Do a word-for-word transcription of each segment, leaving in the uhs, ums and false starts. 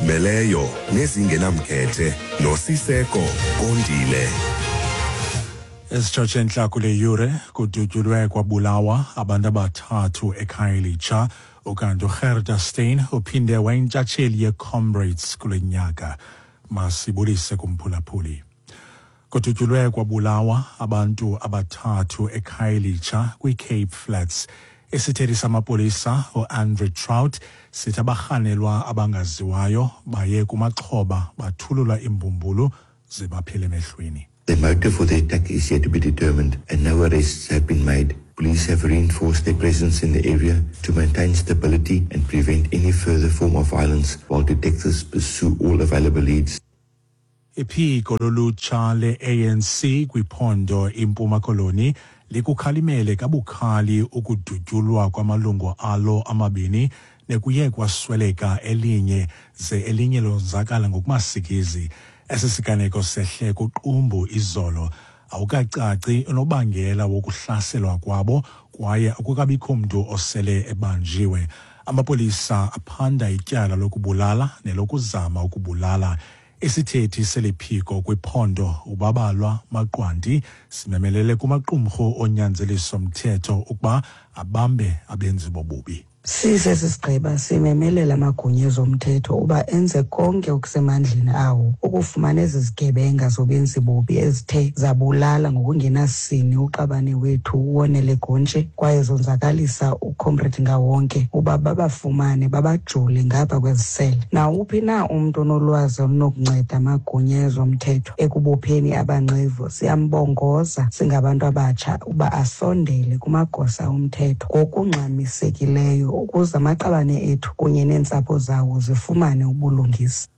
Ezizimeleyo nezingenamkhethe noSiseko Kondile. Esitshotshe entla kule yure, kudutyulwe kwabulawa abantu abathathu eKhayelitsha. Ukanti uGerda Steyn uphinde wayintshatsheli yeComrades kule nyaka. Masibulise kumphulaphuli. Kudutyulwe kwabulawa abantu abathathu eKhayelitsha kwiCape Flats. Isithethi samapolisa uAndre Traut sithi abarhanelwa abangaziwayo baye kumaxhoba, bathulula imbumbulu ze baphele emehlweni. The motive for the attack is yet to be determined and no arrests have been made. Police have reinforced their presence in the area to maintain stability and prevent any further form of violence while detectives pursue all available leads. Iphiko lolutsha le-A N C kwiphondo iMpuma Koloni likukhalimele kabukhali ukudutyulwa kwamalungu alo amabini nekuye kwasweleka elinye, ze elinye lonzakala ngokumasikizi. Esi siganeko sehle kuQumbu izolo. Awukacaci unobangela wokuhlaselwa kwabo kwaye akukabikho mntu osele ebanjiwe. Amapolisa aphanda ityala lokubulala nelokuzama ukubulala. Isithethi seliphiko kwiphondo uBabalwa Maqwanti simemelele kumaqumrhu onyanzeliso mthetho ukuba abambe abenzi bobubi. Sisesi sigqeba simemelela amagunya ezomthetho uba enze konke okusemandleni awo ukufumana ezi zigebenga zobenzi bubi ezithe zabulala ngokungenasini uqabane wethu uWonele Gontshe kwaye zonzakalisa uComrade Ngawonke, uba babafumane babajule ngapha kwezisele. Nawuphi na umntu onolwazi olunokunceda amagunya ezomthetho ekubopheni abanqevu, siyambongoza singabantu abatsha uba asondele kumagosa omthetho ngokungxamisekileyo ukuze amaqabane ethu kunye neentsapho zawo zifumane ubulungisa.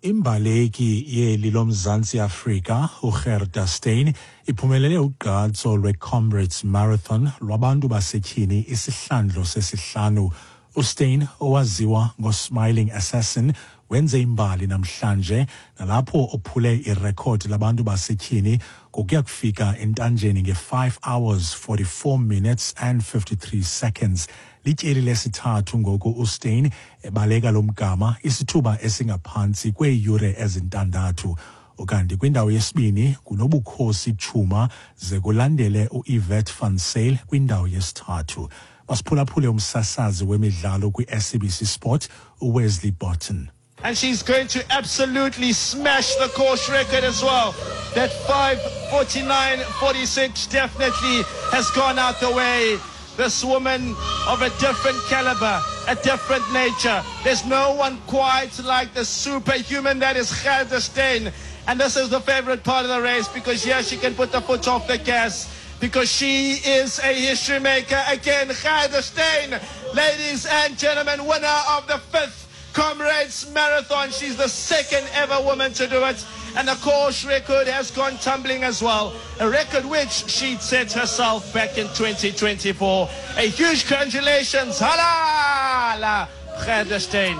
Imbaleki yeli loMzantsi Afrika uGerda Steyn iphumelele ugqatso lweComrades Marathon lwabantu basetyhini isihlandlo sesihlanu. USteyn, owaziwa ngoSmiling Assassin, wenze imbali namhlanje nalapho ophule irekhodi labantu basetyhini ngokuya kufika entanjeni nge-five hours forty-four minutes and fifty-three seconds. Lityeli lesithathu ngoku uSteyn ebaleka lo mgama isithuba esingaphantsi kweeyure ezintandathu. Ukanti kwindawo yesibini kunoBukhosi Chuma, ze kulandele uIrvette van Zyl kwindawo yesithathu. Masiphulaphule umsasazi wemidlalo kwi-S A B C Sport uWesley Barton. And she's going to absolutely smash the course record as well. That five forty-nine forty-six definitely has gone out the way. This woman of a different caliber, a different nature. There's no one quite like the superhuman that is Gerda Steyn. And this is the favorite part of the race because here she can put the foot off the gas because she is a history maker again. Gerda Steyn, ladies and gentlemen, winner of the fifth Comrades Marathon. She's the second ever woman to do it. And the course record has gone tumbling as well. A record which she'd set herself back in twenty twenty-four. A huge congratulations. Halala, Gerda Steyn.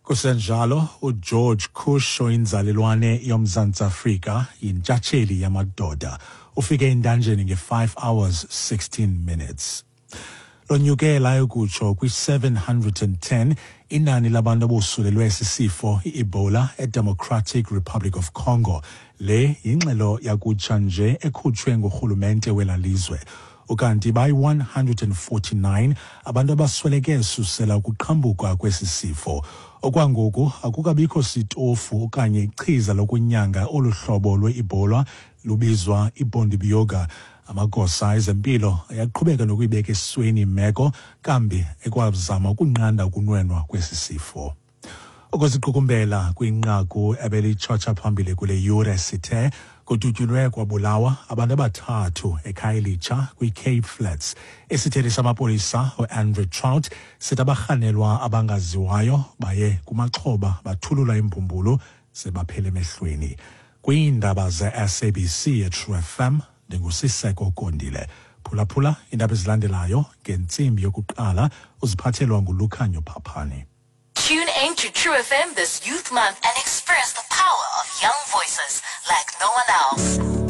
Kusenjalo, uGeorge Kush, oyinzalelwane yoMzantsi Afrika, yintshatsheli yamadoda. Ufike entanjeni nge-five hours sixteen minutes. Lonyuke layokutsho kwi-seven hundred and ten inani labantu abosulelwe sisifo i-Ebola eDemocratic Republic of Congo. Le yingxelo yakutsha nje ekhutshwe ngurhulumente wela lizwe. Ukanti bayi-one hundred and forty-nine abantu abasweleke susela ukuqhambuka kwesi sifo. Okwangoku akukabikho sitofu okanye ichiza lokunyanga olu hlobo lwe-Ebola lubizwa iBundibugyo. Amagosa ezempilo ayaqhubeka nokuyibeka esweni imeko, kambi ekwazama ukunqanda ukunwenwa kwesi sifo. Ukuziqukumbela kwinqaku ebelitshotsha phambili kule yure, sithe kudutyulwe kwabulawa abantu abathathu eKhayelitsha kwiCape Flats. Isithethi samapolisa uAndre Traut sithi abarhanelwa abangaziwayo baye kumaxhoba, bathulula imbumbulu ze baphele emehlweni. Kwiindaba ze-S A B C eTrue F M, ndinguSiseko Kondile. Phulaphula iindaba ezilandelayo ngentsimbi yokuqala, uziphathelwa nguLukhanyo Phaphani. Tune in to True F M this Youth Month and experience the power of young voices like no one else.